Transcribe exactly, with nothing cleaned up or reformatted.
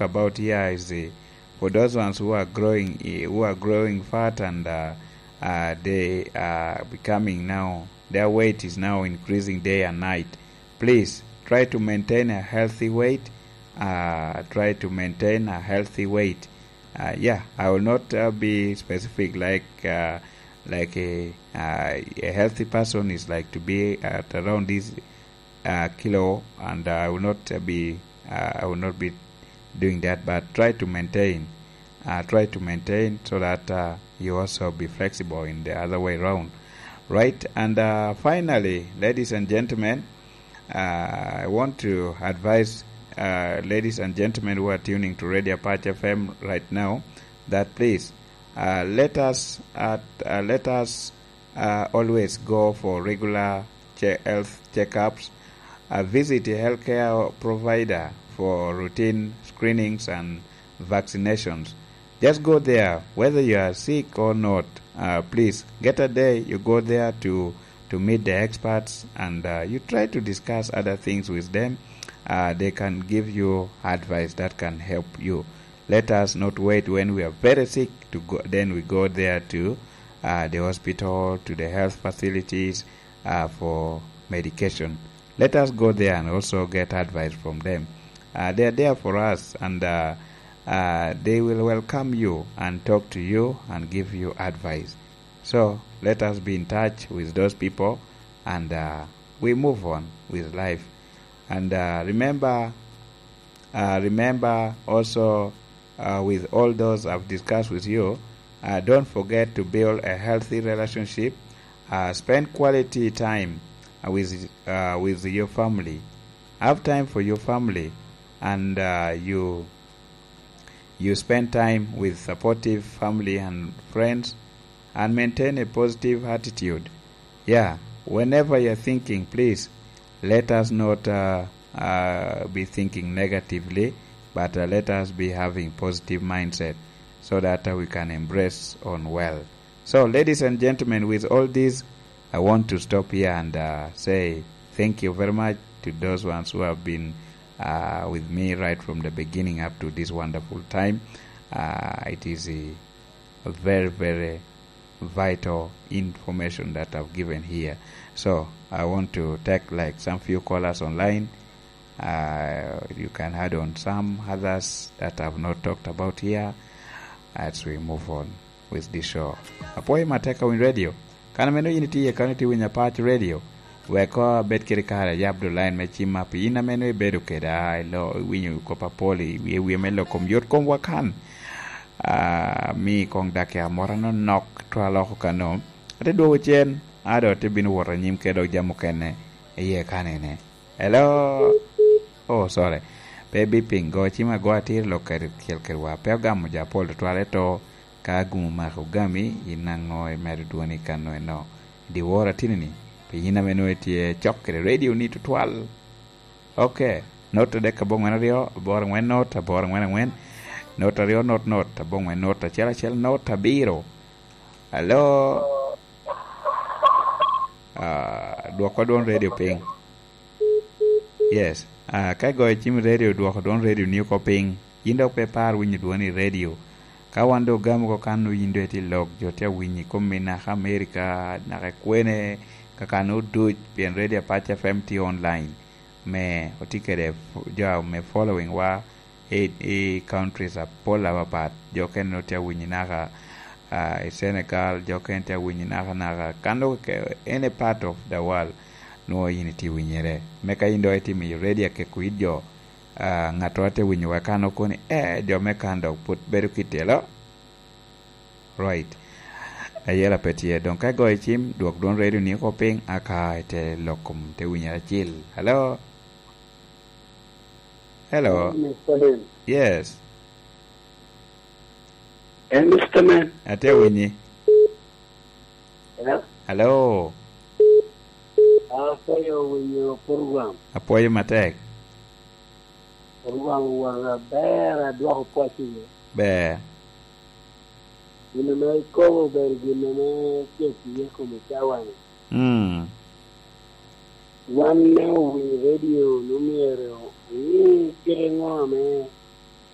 about here is, uh, for those ones who are growing, eh, who are growing fat and, uh, uh, they are becoming now, their weight is now increasing day and night. Please try to maintain a healthy weight. Uh, try to maintain a healthy weight. Uh, yeah, I will not, uh, be specific like, uh, like a, uh, a healthy person is like to be at around this, uh, kilo, and, uh, I will not, uh, be, uh, I will not be doing that. But try to maintain, uh, try to maintain so that, uh, you also be flexible in the other way around, right? And, uh, finally, ladies and gentlemen, uh, I want to advise, uh, ladies and gentlemen who are tuning to Radio Apache F M right now, that please, uh, let us, uh, uh, let us, uh, always go for regular che-, health checkups. Uh, visit a healthcare provider for routine screenings and vaccinations. Just go there, whether you are sick or not. Uh, please, get a day, you go there to, to meet the experts, and, uh, you try to discuss other things with them. Uh, they can give you advice that can help you. Let us not wait when we are very sick to go, then we go there to, uh, the hospital, to the health facilities, uh, for medication. Let us go there and also get advice from them. Uh, they are there for us, and, uh, uh, they will welcome you and talk to you and give you advice. So let us be in touch with those people, and, uh, we move on with life. And, uh, remember, uh, remember also, uh, with all those I've discussed with you, uh, don't forget to build a healthy relationship. Uh, spend quality time, uh, with, uh, with your family. Have time for your family, and, uh, you, you spend time with supportive family and friends, and maintain a positive attitude. Yeah, whenever you're thinking, please let us not, uh, uh, be thinking negatively, but, uh, let us be having positive mindset so that, uh, we can embrace on well. So, ladies and gentlemen, with all this, I want to stop here and, uh, say thank you very much to those ones who have been, uh, with me right from the beginning up to this wonderful time. Uh, it is a, a very, very vital information that I've given here. So, I want to take, like, some few callers online. Uh, you can add on some others that I've not talked about here as we move on with the show. Apwoyo matek ka winy radio. Kan ameno yin itye, kan itye winyo Apac Radio, wek koŋ abed kede kare ayab dul line me cimma, pi yin ameno ibedo keda, ilo, iwinyo kop apol i wie, wie me lok kom yot komwa kan. Ah, mi koŋ dakika moro anonok twal oko kano. Ate dwogo cen, a doŋ ate bino wot anyim kede dok jami okene iye kanene. Hello? Oh, sorry. Pe bi piny go cim ago atir lok kede kel kedwa. Pe ogamo jo apol tutwal, eto ka agumo mako ogami, yin aŋo imedo dwoni kano eno? Dyewor atini-ni, pi yin ame nwoŋo itye cok kede radio-ni tutwal. Ok. Not adek aboŋwen aryo, aboro aŋwen not, aboro aŋwen aŋwen, not aryo not not, aboŋwen not, acel acel not, abiro. Hello? Ah, dwokwa dwon radio piny. Yes. Ah, ka igoyo cim i radio, dwoko dwon radio ni oko piny. Yin dok pe ipar winyo dwoni i radio. Ka wan dok ogamo oko kan, yin dong itye i lok, jo tye awinyi i kom i naka America, naka i kwene, ka kan oduc, pien Radio Apac F M tye online. Me otye kede f-, jo me following wa i, i countries apol apapat. Jo okene nwoŋo tye awinyi naka, ah, i Senegal, jo okene tye awinyi naka, naka. Kan dok ke-, any part of the world, nwoŋo yin itye winyere. Me ka yin dok itimo i radio akeko it jo, ah, ŋattoro tye winyowa kan okoni, eh, jo me kan dok pwod bedo kitelo. Right. Ayela pe tye. Doŋ ka igoyo cim, dwok dwon radio ni oko piny, aka ite lok kom te winyere acil. Hello? Hello? Mister Ben. Yes. Eh, Mister Man. Atye awinyi. Hello? Hello? Apwoyo winyo program. Apwoyo matek. Program wanga ber, adwoko pwoc iye. Ber. Gin ame ikobo obedo gin ame cek iye kom i cawa-ni. Mm. Wan me owinyo radio, nwoŋo myero oŋe kite ŋo ame